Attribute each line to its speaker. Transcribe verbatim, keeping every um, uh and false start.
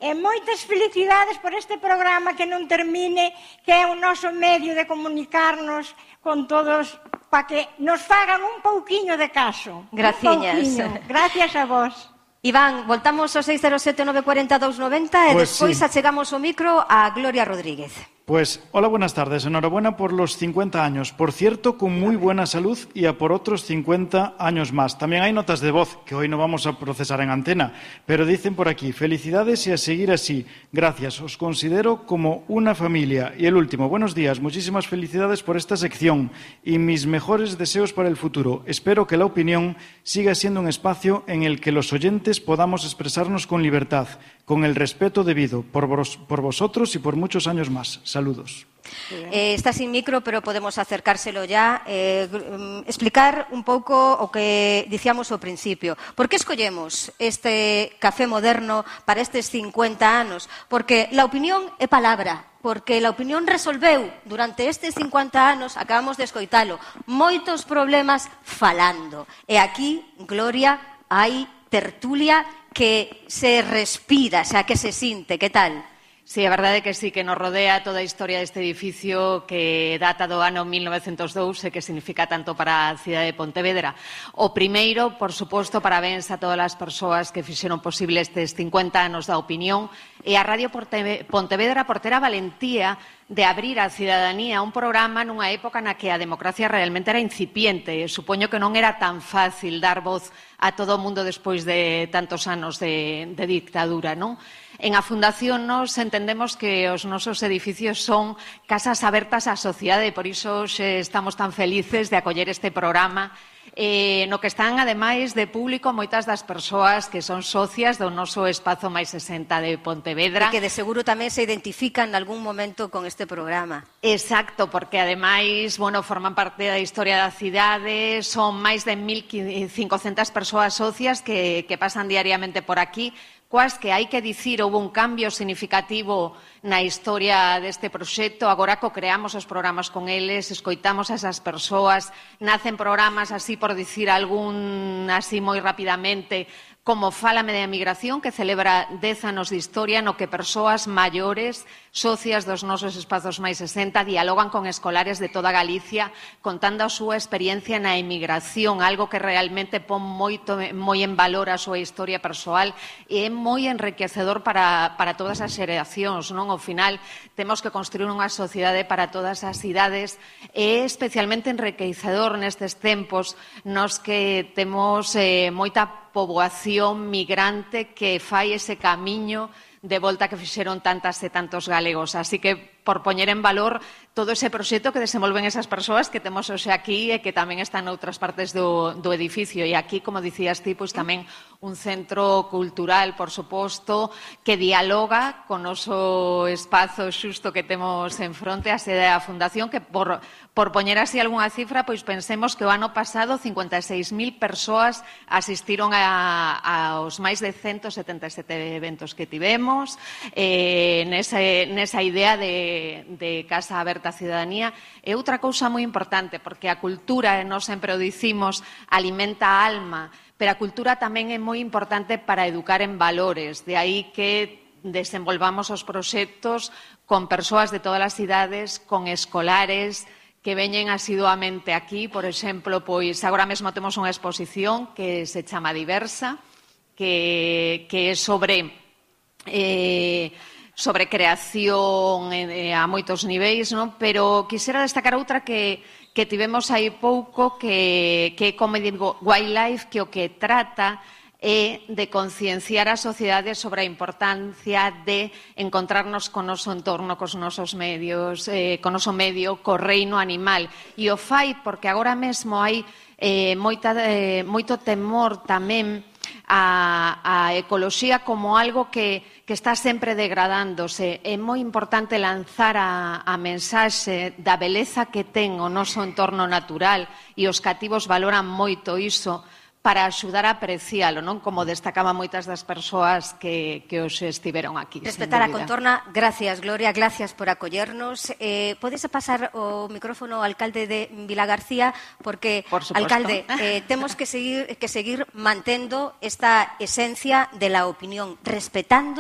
Speaker 1: E moitas felicidades por este programa que non termine, que é o noso medio de comunicarnos con todos, para que nos fagan un pouquiño de caso.
Speaker 2: Graciñas.
Speaker 1: Gracias a vos.
Speaker 2: Iván, voltamos ao seis cero sete nove cuatro zero dous nove zero e
Speaker 3: Pues
Speaker 2: despois
Speaker 3: sí.
Speaker 2: achegamos o micro a Gloria Rodríguez.
Speaker 3: Pues, hola, buenas tardes. Enhorabuena por los cincuenta años. Por cierto, con muy buena salud y a por otros cincuenta años más. También hay notas de voz que hoy no vamos a procesar en antena, pero dicen por aquí, felicidades y a seguir así. Gracias, os considero como una familia. Y el último, buenos días, muchísimas felicidades por esta sección y mis mejores deseos para el futuro. Espero que la opinión siga siendo un espacio en el que los oyentes podamos expresarnos con libertad, con el respeto debido, por, vos, por vosotros y por muchos años más. Saludos.
Speaker 2: Eh, está sin micro, pero podemos acercárselo ya. Eh, explicar un pouco o que dicíamos ao principio. Por que escollemos este café moderno para estes cincuenta anos? Porque la opinión é palabra. Porque la opinión resolveu durante estes cincuenta anos, acabamos de escoitalo, moitos problemas falando. E aquí, Gloria, hai tertulia que se respira, o sea, que se sinte. Que tal?
Speaker 4: Sí, a verdade é que sí, que nos rodea toda a historia deste edificio que data do ano mil novecentos e dous e que significa tanto para a cidade de Pontevedra. O primeiro, por suposto, parabéns a todas as persoas que fixeron posible estes cincuenta anos da opinión e a Radio Pontevedra por ter a valentía de abrir á cidadanía un programa nunha época na que a democracia realmente era incipiente. Supoño que non era tan fácil dar voz a todo o mundo despois de tantos anos de, de dictadura, non? En a Fundación nos entendemos que os nosos edificios son casas abertas á sociedade e por iso estamos tan felices de acoller este programa eh, no que están, ademais de público, moitas das persoas que son socias do noso espazo máis sesenta de Pontevedra.
Speaker 2: E que de seguro tamén se identifican en algún momento con este programa.
Speaker 4: Exacto, porque ademais, bueno, forman parte da historia da cidade, son máis de mil cincocentas persoas socias que, que pasan diariamente por aquí, coas que hai que dicir houve un cambio significativo na historia deste proxecto. Agora co creamos os programas con eles, escoitamos a esas persoas, nacen programas así por dicir algún así moi rapidamente, como Fálame de Emigración, que celebra dez anos de historia no que persoas maiores, socias dos nosos espazos máis sesenta, dialogan con escolares de toda Galicia contando a súa experiencia na emigración, algo que realmente pon moito, moi en valor a súa historia persoal e é moi enriquecedor para, para todas as xeracións, non? Ao final, temos que construir unha sociedade para todas as idades e é especialmente enriquecedor nestes tempos nos que temos eh, moita poboación migrante que fai ese camiño de volta que fixeron tantas e tantos galegos. Así que, por poñer en valor todo ese proxecto que desenvolven esas persoas que temos hoxe aquí e que tamén están noutras partes do, do edificio. E aquí, como dicías ti, pois tamén un centro cultural, por suposto, que dialoga con o noso espazo xusto que temos en fronte, a sede da Fundación, que por, por poñer así algunha cifra, pois pensemos que o ano pasado cincuenta e seis mil persoas asistiron a, aos máis de ciento setenta e sete eventos que tivemos, eh, nesa, nesa idea de, de Casa Aberta a Cidadanía. E outra cousa moi importante, porque a cultura, e nós sempre o dicimos, alimenta a alma, pero a cultura tamén é moi importante para educar en valores. De aí que desenvolvamos os proxectos con persoas de todas as idades, con escolares que veñen asiduamente aquí. Por exemplo, pois agora mesmo temos unha exposición que se chama Diversa, que, que é sobre eh, sobre creación eh, a moitos niveis, non? Pero quixera destacar outra que, que tivemos aí pouco, que, que é Comedy Wildlife, que o que trata é de concienciar a sociedade sobre a importancia de encontrarnos con o noso entorno, cos nosos medios, eh, con o noso medio, co reino animal. E o fai porque agora mesmo hai eh, moita, eh, moito temor tamén a, a ecoloxía como algo que, que está sempre degradándose. É moi importante lanzar a, a mensaxe da beleza que ten o noso entorno natural e os cativos valoran moito iso para axudar a aprecialo, non? Como destacaban moitas das persoas que, que hoxe estiveron aquí.
Speaker 2: Respetar a contorna. Gracias, Gloria, gracias por acollernos. Eh, podes pasar o micrófono ao alcalde de Vilagarcía, porque,
Speaker 4: por suposto,
Speaker 2: alcalde, eh, temos que seguir, que seguir mantendo esta esencia de la opinión, respetando